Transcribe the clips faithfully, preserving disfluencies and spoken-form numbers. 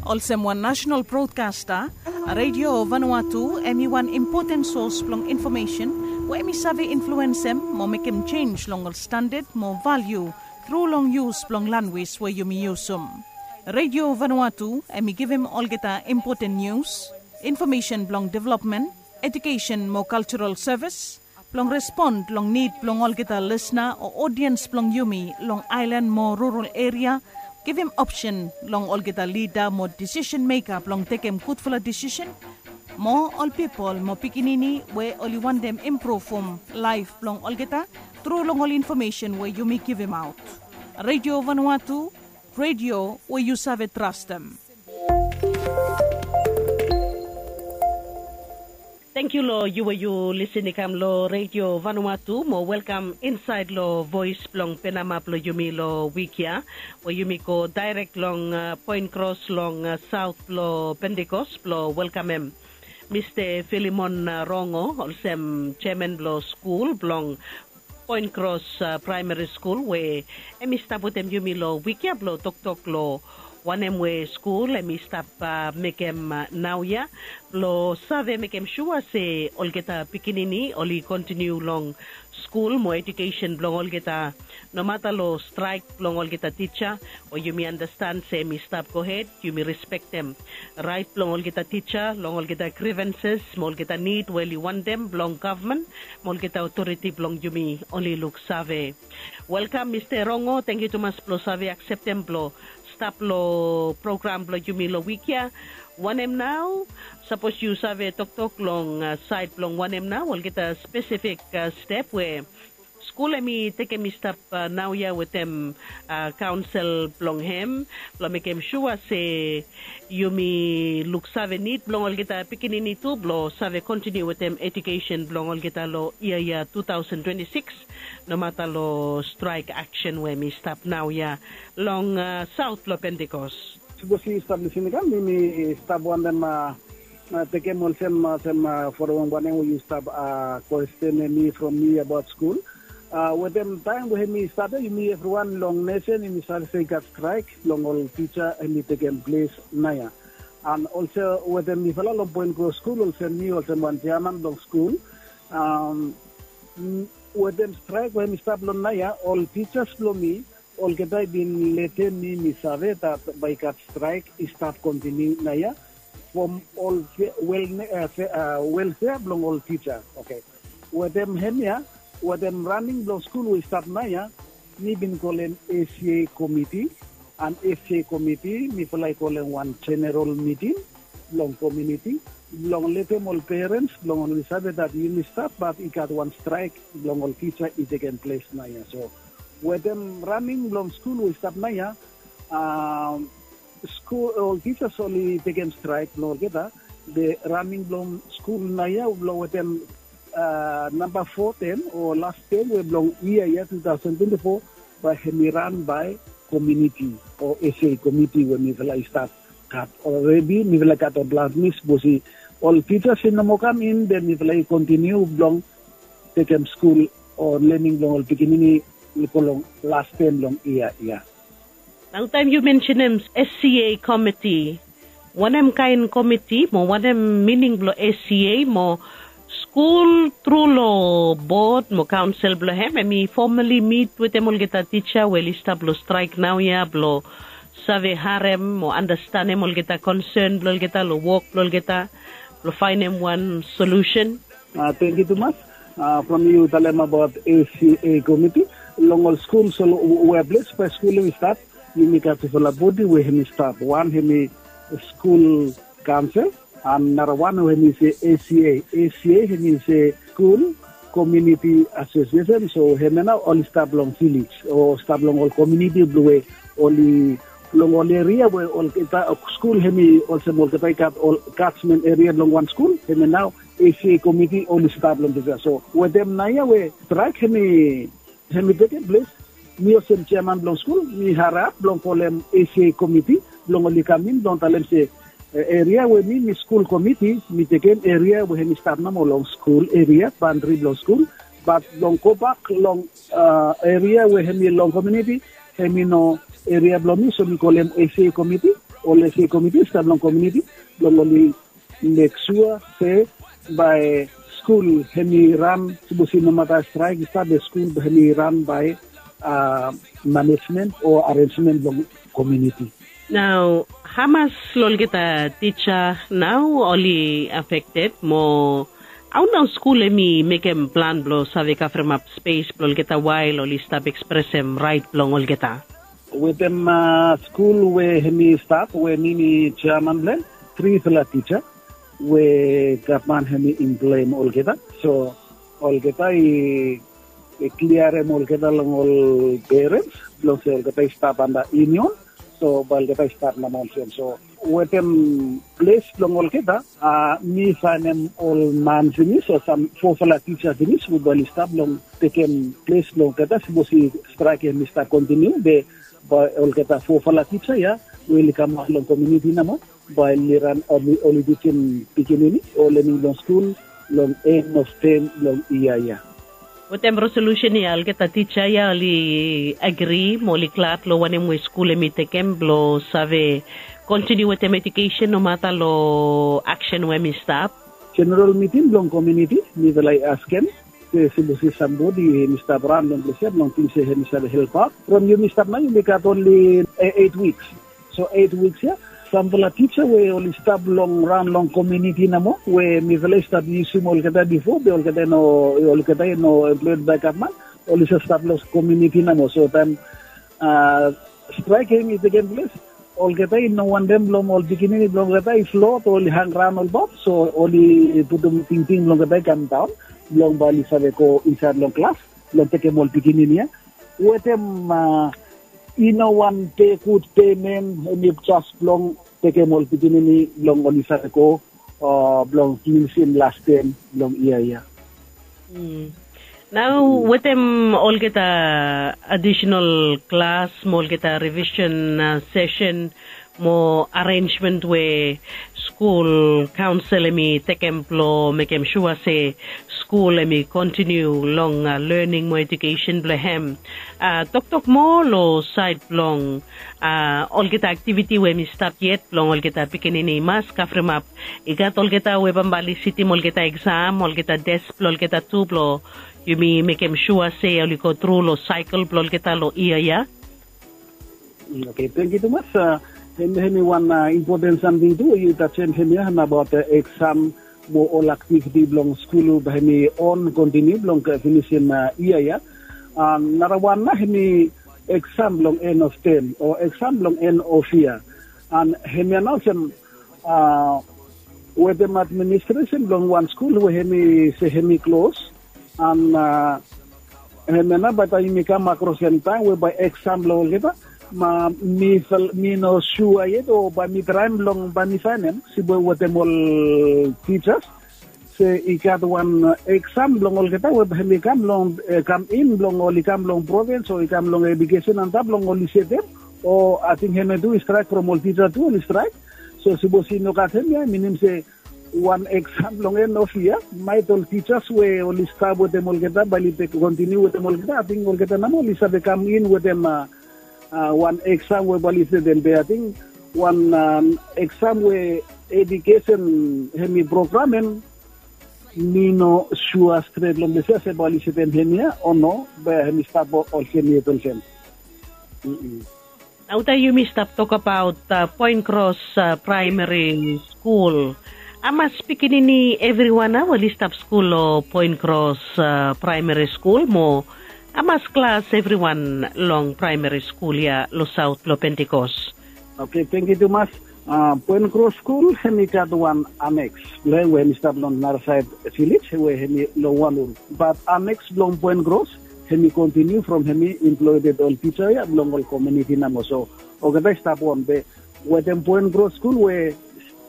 Olsem wan nasenal brodkasta, Radio Vanuatu hem i wan impoten sos blong infomesen we hem i save influensem mo mekem jenj long ol standad mo valiu tru long yus blong lanwis we yumi yusum. Radio Vanuatu hem i givim olgeta impoten nius, infomesen blong developmen, ejukesen mo kaljaral sevis, blong respon long nid blong olgeta lisna o odiens blong yumi long aelan mo rural eria, givim opsen long olgeta lida mo disisen meka blong tekem gudfala disisen, mo ol pipol mo pikinini we oli wantem impruvum laef blong olgeta tru long ol infomesen we yumi givimaot. Radio Vanuatu, radio we yu save trastem. Tangkiu long yu we yu lisin i kam long Radio Vanuatu mo welkam insaed long voes blong Penama blong yumi long wik ya, we yumi go daerek long Point Cross long saot blong Pentecost blong welkamem Mista Filimon Rongo olsem jeaman blong skul blong Point Cross Praemari Skul we hem i stap wetem yumi long wik ya blong toktok long wanem we skul hem i stap mekem naoia blong save mekem sua se olgeta pikinini oli kontiniu long skul mo ejukesen blong olgeta, nomata long straek blong olgeta tija we yumi andastan se hem i stap gohed, yumi respektem raet blong olgeta tija long olgeta grivanses mo olgeta nid we oli wantem blong gavman mo olgeta otoriti blong yumi oli luksave. Welkam Mista Rongo, tangkiu tumas blong save akseptem blong stap long program blong yumi long wik ya. Wanem nao, sapos yu save toktok long saed blong wanem nao olgeta spesifik step we skul hem i tekem i stap naoia wetem kaonsel blong hem blong mekem sua se yumi luksave nid blong olgeta pikinini tu blong save kontiniu wetem ejukesen blong olgeta long yia ya tu taosen twenti sikis, nomata long straek aksen we hem i stap naoia long saot blong Pentecost. Sapos yu stap lisin i kam, mi stap wantem tekem olsem olsem forem wanem we yu stap kwestenem mi from mi abaot skul. Wetem taem we hem i stap ya, yumi evriwan long nesen yumi save se i gat straek blong ol tija hem i tekem ples naoia. An olsem wetem mifala long Point Cross Skul olsem mi olsem wan jeaman blong skul, wetem straek we hem i stap long naoia, ol tijas blong mi olgeta i bin letem mi mi save dat bae i gat straek i stap kontiniu naoia from ol welfea blong ol tija. Oke. Wetem hemia, wetem raning blong skul we i stap naoia, mi bin kolem A C A komiti, an A C A komiti mifala i kolem wan jeneral miting blong komuniti blong letem ol perens blong oli save dat yumi stap bat i gat wan straek blong ol tija i tekem ples naoia. So wetem raning blong skul we i stap naoia, skul ol tijas oli tekem straek blong olgeta. Be raning blong skul naoia blong wetem namba fo tem o las tem we blong yia ya tu taosen twenti fo, bae hem i ran bae komuniti o A C A komiti we mifala i stap gat olredi, mifala i gat ol blas mi sapos i ol tijas i no moa kam in, be mifala i kontiniu blong tekem skul o lening blong ol pikinini i go long las tem blong yia ya. Nao taem yu mensenem S C A komiti, wanem kaen komiti mo wanem mining blong S C A mo skul tru long bod mo kaonsel blong hem hem i fomali mit wetem olgeta tija we oli stap long straek naoia blong save harem mo andastanem olgeta konsen blong olgeta long wok blong olgeta blong faenem wan solusen? Tangkiu tumas. From yu talem abaot A C A komiti, long ol skul so we ples bae skul hem i stap, yumi gat tufala bodi we hem i stap. Wan hem i skul kaonsel, an narawan we hem i se A C A. A C A hem i se skul komuniti asosiesen, so hemia nao oli stap long vilej o stap long ol komuniti blong we oli long ol eria we olgeta skul hem i olsem olgeta i gat ol katsmen eria blong wan skul, hemia nao A C A komiti oli stap long dispela. So wetem naoia we straek hem i hem i tekem ples, mi olsem jeaman blong skul mi harap blong kolem A C A komiti blong oli kam in blong talem se eria we mi mi skul komiti mi tekem eria we hem i stap nomo long skul eria, bandri blong skul, bat blong gobak long eria we hem i long komuniti, hem i no eria blong mi, so mi kolem A C A komiti ol ese komiti i stap long kominiti blong oli mek sua se bae skul hem i ran, sapos i no mata straik i stap, be skul bae hem i ran bae manejmen o arenjmen blong kominiti. Nao hamas long olgeta tija nao oli afekted mo hao nao skul hem i mekem plan blong save kavremap spes blong olgeta wael oli stap ekspresem raet blong olgeta? Wetem skul we hem i stap we mi mi jeaman blong hem, trifala tija we gavman hem i emploem olgeta. So olgeta i kliarem olgeta long ol perens blong se olgeta i stap anda yunion. So bae olgeta i stap namo olsem. So wetem ples blong olgeta, mi faenem ol man finis o sam fofala tija finis we bae oli stap long tekem ples blong olgeta sapos i straik hem i stap kontiniu, be bae olgeta fofala tija ya we oli kamaot long kominiti namo bae oli ran, oli tijim pikinini o lening long skul long en of tem long yia ya. Wetem resolusen ya olgeta tija ya oli agri mo oli glad long wanem we skul hem i tekem blong save kontiniu wetem ejukesen nomata long aksen we hem i stap. Jeneral miting blong kominiti, mifala i askem se sapos i sambodi hem i stap raon long ples ya blong ting se hem i save helpaot, from yumi stap nao yumi gat onli eit wiks. So eit wiks ya, samfala tija we oli stap long raon long kominiti namo we mifala i stap yusum olgeta bifo be olgeta i no, olgeta i no emploed bae gavman, oli save stap long kominiti namo. So taem straik hem i tekem ples, olgeta i no wantem blong ol pikinini blong olgeta i flot o oli hangraon olbaot. So oli putum tingting blong olgeta i kamdaon blong bae oli save go insaed long klas blong tekem ol pikinini ya wetem i no wan pe gud pemen, hem i jes blong tekem ol pikinini blong oli save go blong finisim las tem blong yia ya. Nao wetem olgeta adisenal klas mo olgeta rivisen sesen mo arenjmen we skul kaonsel hem i tekem blong mekem sua se skul hem i kontiniu long lening mo ejukesen blong hem. Toktok moa long saed blong olgeta aktiviti we hem i stap yet blong olgeta pikinini i mas kavremap. I gat olgeta we bambae oli sitim olgeta eksam, olgeta tes blong olgeta tu blong yumi mekem sua se oli gotru long saekel blong olgeta long yia ya. Oke, tangkiu tumas. Hem hem i wan impoten samting tu we yu tajem hem ya nabaot eksam mo ol aktiviti blong skul bae hem i on kontiniu blong finisim yia ya. Narawan nao hem i eksam blong en of tem o eksam blong en of yia. An hem ya nao olsem wetem administresen blong wan skul we hem i se hem i klos. An hem ya nao bae taem yumi kam akros long taem we bae eksam blong olgeta, ma mi no sua yet o bae mi traem blong bae mi saenem sibe wetem ol tijas se i gat wan eksam blong olgeta we bae hem i kam long kam in blong oli kam long provins o i kam long ejukesen antap blong oli setem. O ating hem ya tu i straek from ol tija tu oli straek. So sapos i no gat hem ya i minim se wan eksam blong en of yia, maet ol tijas we oli stap wetem olgeta bae oli kontiniu wetem olgeta, ating olgeta namo oli save kam in wetem wan eksam we bae oli setem. Be ating wan eksam we ejukesen hem i programem, mi no sua stret long ples ya se bae oli setem hem ya o no, be hem i stap olsem yet olsem. Nao taem yumi stap tokabaot Poen Kros Praemari Skul, hamas pikinini evriwan nao oli stap skul long Poen Kros Praemari Skul mo hamas klas evriwan long praemari skul ya long saot blong Pentikos? Oke, tangkiu tumas. Poen Kros Skul hem i gat wan aneks blong hem we hem i stap long narasaed vilej we hem i long wan ul. Bat aneks blong Poen Kros hem i kontiniu from hem i emploeded ol tija ya blong ol kominiti namo. So olgeta i stap on be wetem Poen Kros Skul we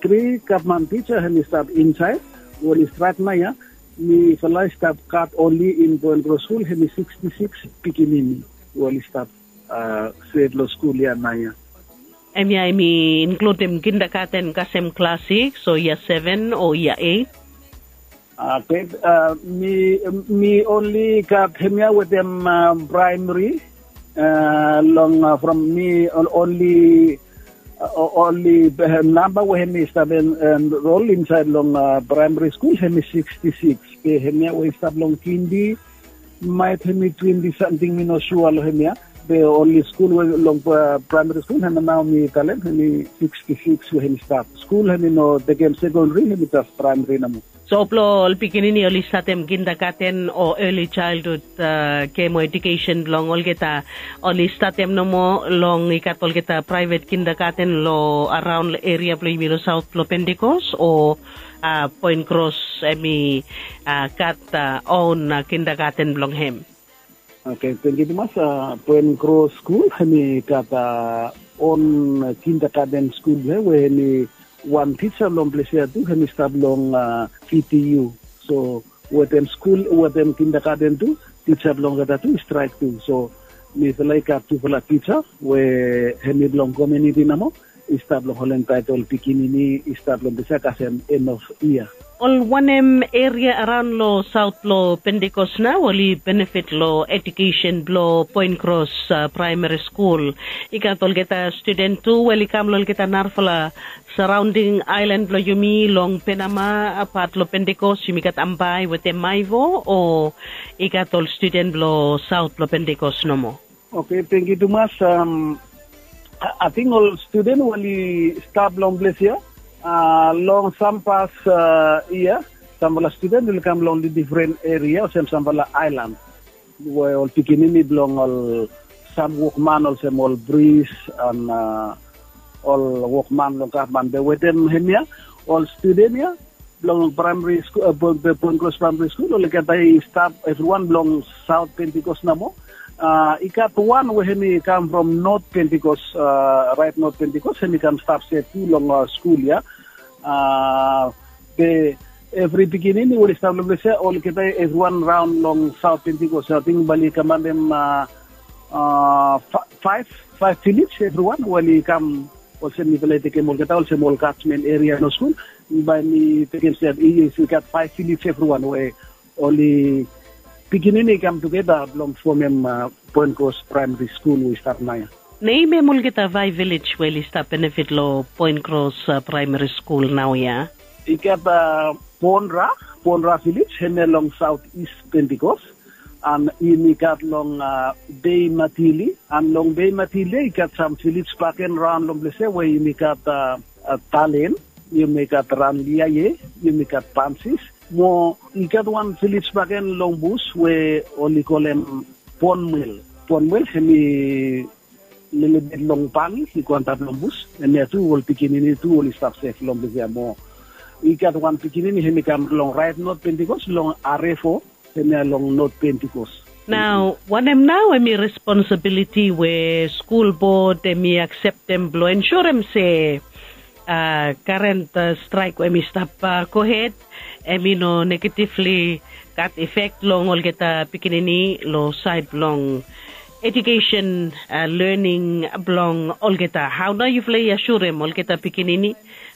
tri gavman tija hem i stap insaed we oli straek nao ya, mifala i stap gat onli in Poen Kros Skul hem i siksti siks pikinini we oli stap stret long skul ya nao ya. Hemia hem i inkludim kindagaten kasem klas siks o yia seven o yia eit? Oke, mi onli gat hemia wetem praemari. Long from mi onli Oli namba we hemi stap enrol insaed long praemari skul hemi siksti siks. Be hemia we i stap long kindi maet hemi twenti samting, mi no sua long hemia. Be oli skul we long praemari skul hemia nao mi talem hemi siksti siks we hemi stap. Skul hemi no tekem sekondari, hemi jes praemari nomo. So blong ol pikinini oli statem kindagaten o eli jaelhud, ke mo edukesen blong olgeta oli statem nomo long i gat olgeta praevet kindagaten long araon eria blong yumi long saot blong Pentikos, o Poen Kros hemi gat on kindagaten blong hem? Oke, tangkiu tumas. Poen Kros skul hemi gat on kindagaten skul blong hem we hemi wan tija long ples ya tu hemi stap long P T U. So wetem skul, wetem kindagaten tu, tija blong olgeta tu i straek tu. So mifala i gat tufala tija we hemi blong komuniti nomo, i stap long holem taet ol pikinini i stap long ples ya kasem en of yia. Ol wanem eria araon long saot blong Pentikos nao oli benefit long edukesen blong Poen Kros praemari skul? I gat olgeta studen tu we oli kam long olgeta narafala saraonding aelan blong yumi long Penama, pat long Pentikos yumi gat Ambae wetem Maewo, o i gat ol studen blong saot blong Pentikos nomo? Oke, tangkiu tumas. Ating ol studen we oli stap long ples ya long sam pas yia, samfala studen oli kam long difren eria olsem samfala aelan we ol pikinini blong ol sam wokman olsem ol pris an ol wokman long gavman. Be wetem hemia ol studen ya blong praemari skul, Poen Kros praemari skul, olgeta i stap evriwan blong saot Pentikos nomo. I gat wan we hemi kam from not Pentikos, raet not Pentikos, hemi kam stap se tu long skul ya. Be evri pikinini we oli stap long ples ya, olgeta evriwan raon long saot Pentikos, ating bae oli kamantem faef, faef vilej evriwan we oli kam olsem mifala i tekem olgeta olsem ol katmen eria long skul. Bae mi tekem se i gat faef vilej evriwan we oli pikinini i kam tugeta blong fomem Poen Kros praemari skul we i stap naoia. Nem hem olgeta faef vilej we oli stap benefit long Poen Kros praemari skul naoia? I gat Ponra, Ponra vilej, hemia long saot is Pentikos. An yumi gat long Bei Matili, an long Bei Matili ya i gat sam vilej bakegen raon long ples ya we yumi gat Talen, yumi gat Ranliaye, yumi gat Pansis, mo i gat wan vilej bakegen long bus we oli kolem Ponmwel. Ponmwel hemi lelebet long Bangi i go antap long bus. Hemia tu ol pikinini tu oli stap sef long ples ya mo i gat wan pikinini hemi kam long raet not Pentikos long Arefo, hemia long not Pentikos. Nao wanem nao hemi responsabiliti we skul bod hemi akseptem blong ensurem se karen straek we hemi stap gohed hemi no negativli gat efek long olgeta pikinini long saed blong edukesen, lening blong olgeta? Hao nao yufala i asurem olgeta pikinini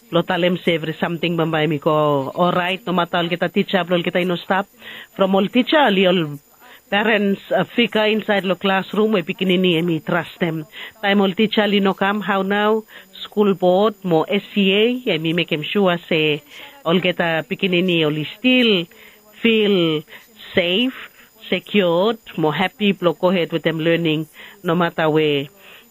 blong talem se evri samting bambae hemi go oraet nomata olgeta tija blong olgeta i no stap? From ol tija oli ol perens figa insaed long klasrum we pikinini hemi trastem. Taem ol tija oli no kam, hao nao skul bod mo S C A hemi mekem sua se olgeta pikinini oli stil fil sef, sekiod mo hapi blong gohed wetem lening nomata we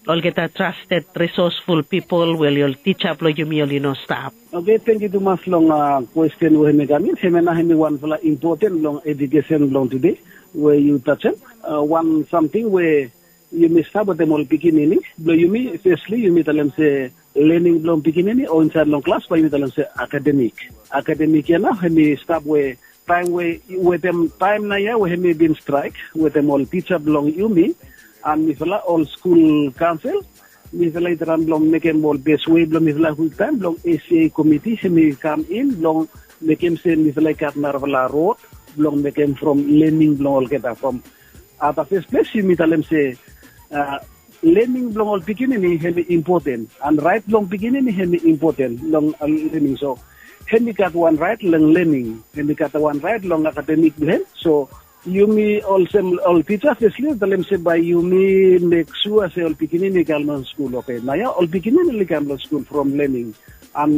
olgeta trasted risosful pipol we oli ol tija blong yumi oli no stap? Oke, tangkiu tumas long kwesten we hemi kam in. Hemia nao hemi wanfala impoten long edukesen blong tude we yu tajem. Wan samting we yumi stap wetem ol pikinini blong yumi, fesli yumi talem se lening blong pikinini o insaed long klas bae yumi talem se akademik. Akademik ya nao hemi stap we taem we wetem taem naoia we hemi bin straek wetem ol tija blong yumi an mifala ol skul kaonsel, mifala i traem blong mekem ol bes we blong mifala kwiktaem blong S C A komiti hemi kam in blong mekem se mifala i gat narafala rod blong mekem from lening blong olgeta from at the first ples yumi talem se lening blong ol pikinini hemi impoten an raet blong pikinini hemi impoten long lening. So hemi gat wan raet long lening, hemi gat wan raet long akademik blong hem. So Yumi olsem ol tisa fesli talem se bae yumi mek sua se ol pikinini i kam long skul, oke? Naoia ol pikinini oli kam long skul from lening. An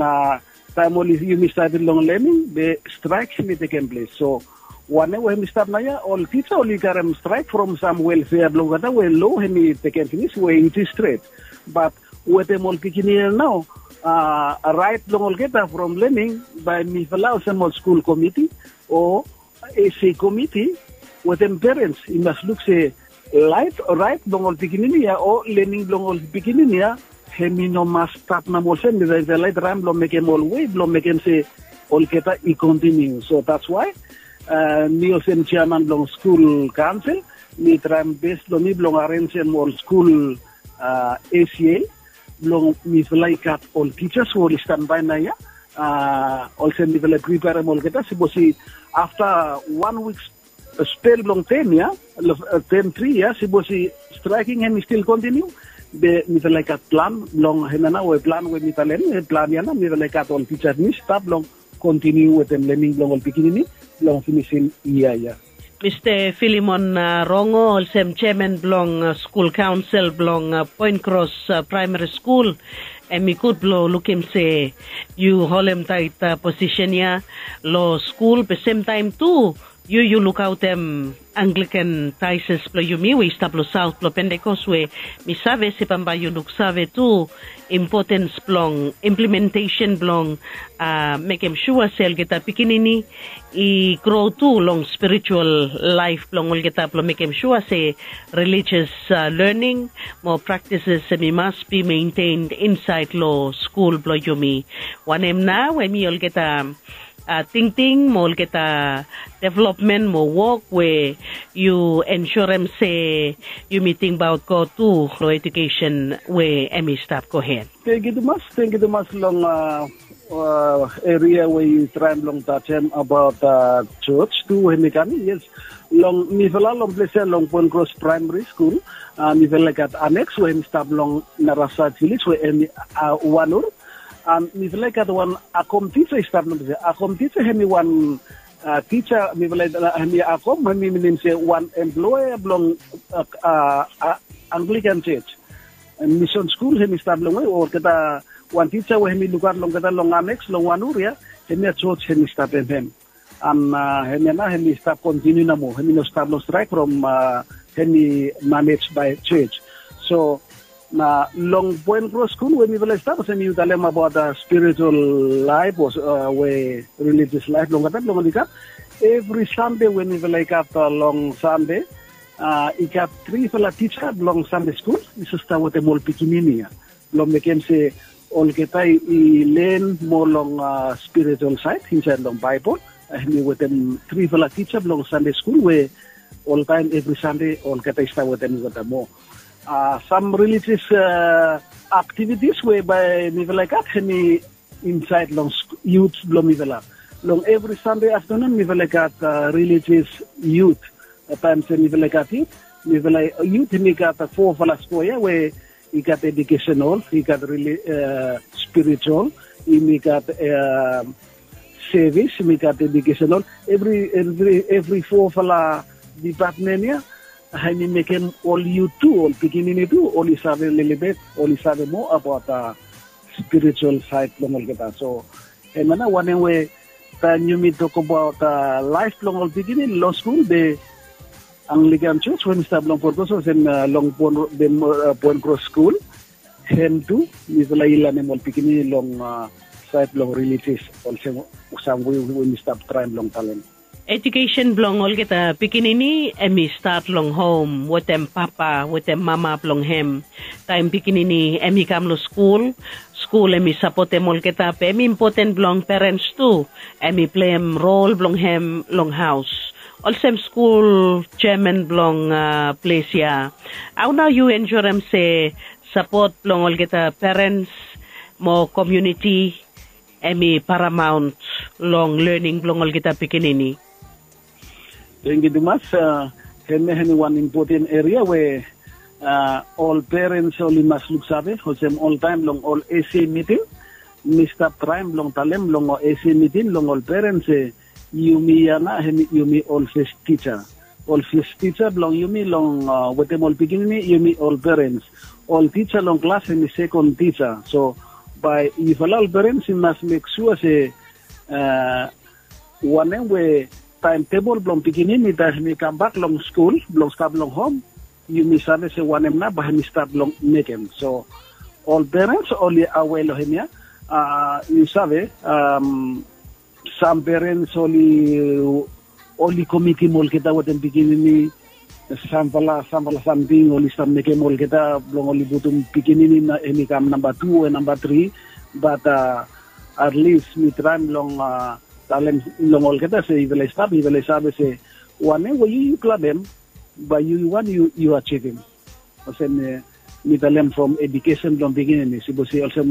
taem oli yumi statem long lening, be straek hemi tekem ples. So wanem we hemi stap naoia, ol tisa oli karem straek from sam welfea blong olgeta we lo hemi tekem finis we it is stret. Bat wetem ol pikinini nao, raet blong olgeta from lening, bae mifala olsem ol skul komiti o ese komiti wetem perens i mas luk se laet raet blong ol pikinini ya o lening blong ol pikinini ya, hemi no mas stap namo olsem. Mifala i traem blong mekem ol wei blong mekem se olgeta i kontiniu. So dats wae mi olsem jeaman blong skul kaonsel, mi traem bes blong mi blong arenjem ol skul ese blong mifala i gat ol tisa we oli stanbae naoia. Olsem mifala i priperem olgeta, sapos i afta wan wik spel blong tem ya, tem tri ya, sapos i straeking hemi stil kontiniu, be mifala i gat plan blong hemia nao we plan we mi talem, plan ya nao mifala i gat ol tisa mi stap blong kontiniu wetem lening blong ol pikinini blong finisim yia ya. Mista Filimon Rongo, olsem jeaman blong skul kaonsel blong Poen Kros Praemari Skul, hemi gud blong lukim se yu holemtaet posisen ya long skul, be semtaem tu yu yu lukaotem Anglikan Daeses blong yumi we i stap long saot blong Pentekos, we mi save se bambae yu luksave tu impotens blong implementesen blong mekem sua se olgeta pikinini i gro tu long spiritual laef blong olgeta blong mekem sua se relijias lening mo praktises hemi mas bi mentened insaed long skul blong yumi. Wanem nao hemi olgeta tingting mo olgeta developmen mo wok we yu ensurem se yumi tingbaot God tu long ejukesen we hemi stap gohed? Tangkiu tumas, tangkiu tumas long eria we yu traem blong tajem abaot jos tu we hemi kam. Yes, long mifala long ples ya long Poen Kros Praemari Skul, mifala i gat aneks we hemi stap long narasaet vilej we hemi wanur. An mifala i gat wan akom tisa i stap long ples ya. Akom tisa hemi wan tisa mifala i hemi akom hemi minim se wan emploea blong Anglikan jos. Misen skul hemi stap long we olgeta wan tisa we hemi lukaot long olgeta long aneks long wanur ya, hemia jos hemi stapem hem. An hemia nao hemi stap kontiniu namo, hemi no stap long straek from hemi manej bae jos. So na long Poen Kros Skul we mifala i stap, olsem yu talem abaot spiritual laef o we relijias laef blong olgeta blong oli kam. Evri Sande we mifala i gat long Sande, i gat trifala tisa blong Sande skul i save stap wetem ol pikinini ya blong mekem se olgeta i len moa long spiritual saed insaed long Baebol. Hemi wetem trifala tisa blong Sande skul we oltaem evri Sande olgeta i stap wetem olgeta moa. Sam relijias aktivitis we bae mifala i gat hemi insaed long yut blong mifala. Long evri Sande aftanun mifala i gat relijias yut. Taem se mifala i gat yut, mifala yut hemi gat fofala skoea we i gat ejukesenol, i gat spiritual, yumi gat sevis, yumi gat ejukesenol. Evri evri evri fofala dipatmen ya hemi mekem ol yut tu, ol pikinini tu oli save lelebet, oli save moa abaot spiritual saed blong olgeta. So hemia nao wanem we taem yumi tokbaot laef blong ol pikinini long skul, be Anglikan jos we mi stap long Poen Kros olsem long Poen Kros Skul, hem tu mifala i lanem ol pikinini long saed blong relijias olsem sam we we mi stap traem blong talem. Ejukesen blong olgeta pikinini hemi stat long hom wetem papa wetem mama blong hem. Taem pikinini hemi kam long skul, skul hemi sapotem olgeta, be hemi impoten blong perens tu hemi pleim rol blong hem long haos. Olsem skul jeaman blong ples ya, hao nao yu ensurem se sapot blong olgeta perens mo komuniti hemi paramaon long lening blong olgeta pikinini? Tangkiu tumas. Hemia hemi wan impoten eria we ol perens oli mas luksave. Olsem oltaem long ol ese miting, mi stap traem blong talem long ol ese miting long ol perens se yumi ya nao hemi yumi ol fes tija. ol fis tisa blong yumi long wetem ol pikinini, yumi ol perens. Ol tisa long klas hemi sekon tisa. So bae yufala ol perens i mas mek sua se wanem we taem tebol blong pikinini taem hemi kambak long skul blong stap long hom, yumi save se wanem nao bae hemi stap long mekem. So ol perens oli awe long hemia. Yu save, sam perens oli oli komitim olgeta wetem pikinini. Samfala samfala samting oli stap mekem olgeta blong oli putum pikinini hemi kam namba tu o namba tri. Bat atlis mi traem long talem long olgeta se yufala i stap, yufala i save se wanem we yu yu planem, bae yu wan yu yu ajivim. Olsem mi talem from edukesen blong pikinini, sipos i olsem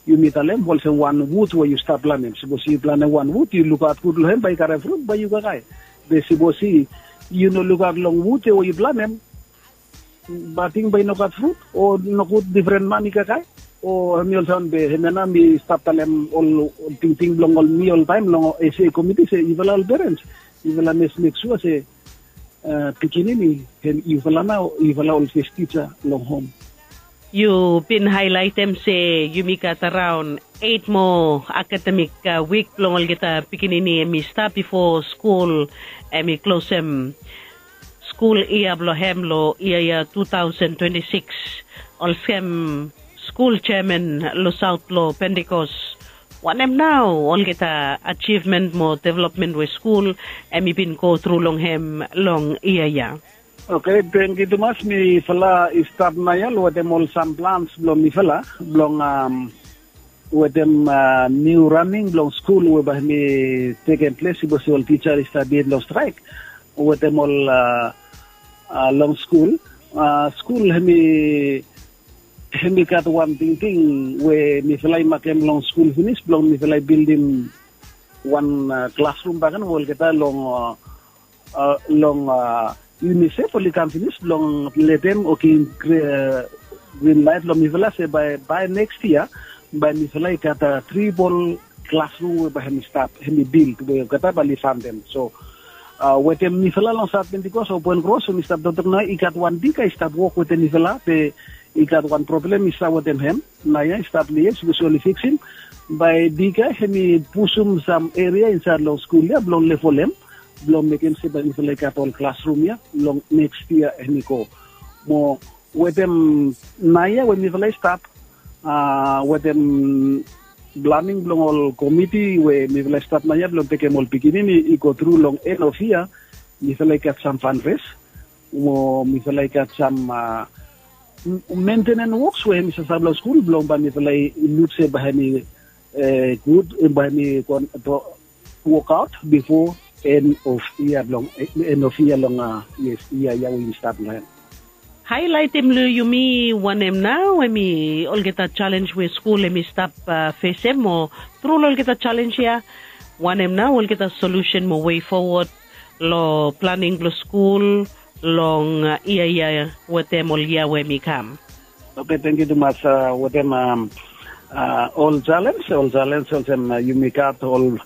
yumi talem olsem wan wud we yu stap planem. Sipos yu planem wan wud, yu lukaot gud long hem bae i karem frut bae yu kakae. Be sipos yu no lukaot long wud ya we yu planem, bating bae i no gat frut o nogud difren man i kakae. O hemi olsem be hemia nao mi stap talem ol tingting blong ol mi oltaem long ese komiti se yufala ol perens, yufala mes mek sua se pikinini hem yufala nao yufala ol fes tisa long hom. Yu bin haelaetem se yumi gat araon eit moa akademik wik blong olgeta pikinini hem i stap bifo skul hem i klosem skul yia blong hem long yia yia tu taosen twenti sikis. Olsem skul jeaman long saot blong pentikos, wanem nao olgeta ajivmen mo developmen we skul hem i bin go tru long hem long yia yia? Oke, tengkiu tumas. Mifala i stap naoia long wetem ol sam plans blong mifala blong wetem niu raning blong skul we bae hemi tekem ples sipos ol tisa i stap yet long straek wetem ol long skul. Skul hemi hemi gat wan tingting we mifala i makem long skul finis blong mifala i bildim wan klasrum bakegen we olgeta long long unisef oli kam finis blong letem o givim grin laet long mifala se bae bae neks yia bae mifala i gat tribol klasrum we bae hemi stap hemi bild we olgeta bae oli fandem. So wetem mifala long saot pentikos o poen kros we mi stap toktok naoia i gat wan bika i stap wok wetem mifala be i gat wan problem i stap wetem hem. Naoia i stap long yia sipos oli fiksim bae bika hemi pusum sam eria insaed long skul ya blong levolem blong mekem se bae mifala i gat ol klasrum ya long neks yia hemi go. Mo wetem naoia we mifala i stap wetem planing blong ol komiti we mifala i stap naoia blong tekem ol pikinini i go tru long en of yia. Mifala i gat sam fanres mo mifala i gat sam mentenen woks we hemi sasave long skul blong bae mifala i luk se bae hemi gud bae hemi wokaot bifo en of yia blong en of yia long yes yia yia we yumi stap long hem. Haelaetem long yumi wanem nao hemi olgeta jalenj we skul hemi stap fesem mo tru long olgeta jalenj ya wanem nao olgeta solusen mo wei fowod long planing blong skul long yia yia wetem ol yia we hemi kam? Oke, tengkiu tumas. Wetem ol jalenj ol jalenj olsem yumi gat ol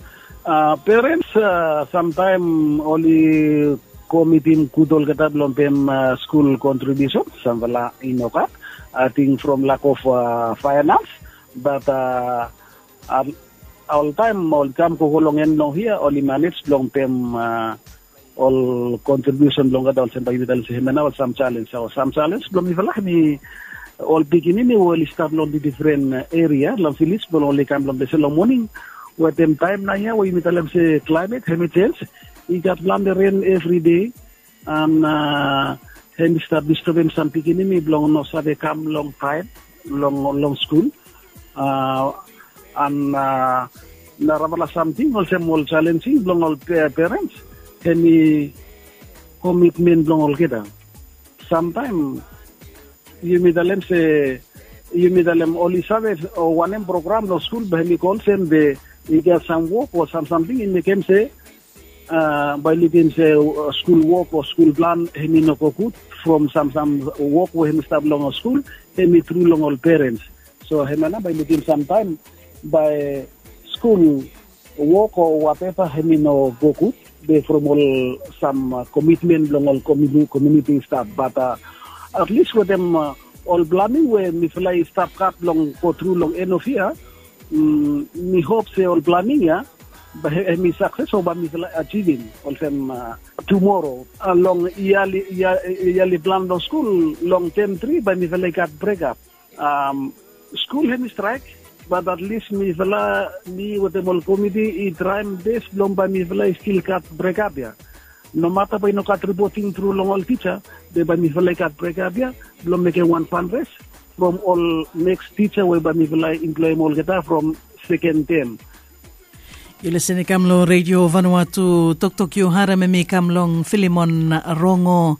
perens samtaem oli komitim gud olgeta blong pem skul kontribiusen. Samfala i no gat ating from lak of faenans. Bat oltaem oli kam gogo long en long hia oli manej blong pem ol kontribiusen blong olgeta olsem bae yumi talem se hemia nao ol sam jalenj o sam jalenj blong mifala hemi ol pikinini we oli stap long difren eria long viles blong oli kam long ples ya long moning. Wetem taem naoia we yumi talem se klaemet hemi jenj i gat plante ren evride an hemi stap distebem sam pikinini blong no save kam longtaem long long skul. An narafala samting olsem ol jalenjing blong ol perens hemi komitmen blong olgeta. Samtaem yumi talem se yumi talem oli save o wanem program long skul bae hemi go olsem be i gat sam wok o sam samting i mekem se bae i lukim se skul wok o skul plan hemi no go gud from sam sam wok we hemi stap long skul hemi tru long ol perens. So hemia nao bae i lukim samtaem bae skul wok o wateva hemi no go gud be from ol sam komitmen blong ol komuniti stap bat atlis wetem ol planing we mifala i stap gat blong go tru long en of ia. Mi hop se ol planing ia bai em i sakses o bai mifala ajivim olsem tumoro long iali plan blong skul long tem tri bai mifala i gat brekap. Skul hem i straik bat atlis mifala mi wetem ol komiti i traem bes blong bai mifala i stil gat brekap ia. Nomata bai i no gat ripoting tru long ol tisa be bai mifala i gat brekap ia blong mekem wan fanres from ol neks tisa we bai mifala i emploem olgeta from seken tem. Yu lesen i kam long redio vanua tu toktok yu harem em i kam long filimon rongo,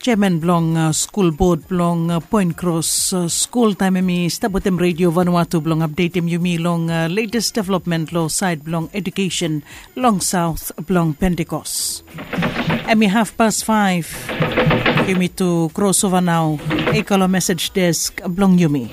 jeman blong skul bod blong poen kros skul taem em i stap wetem redio vanua tu blong apdetem yumi long letes developmen long saed blong edukesen long saot blong pentekos. Em i hafpas faef. Yumi tu krosova nao i go long mesej desk blong yumi.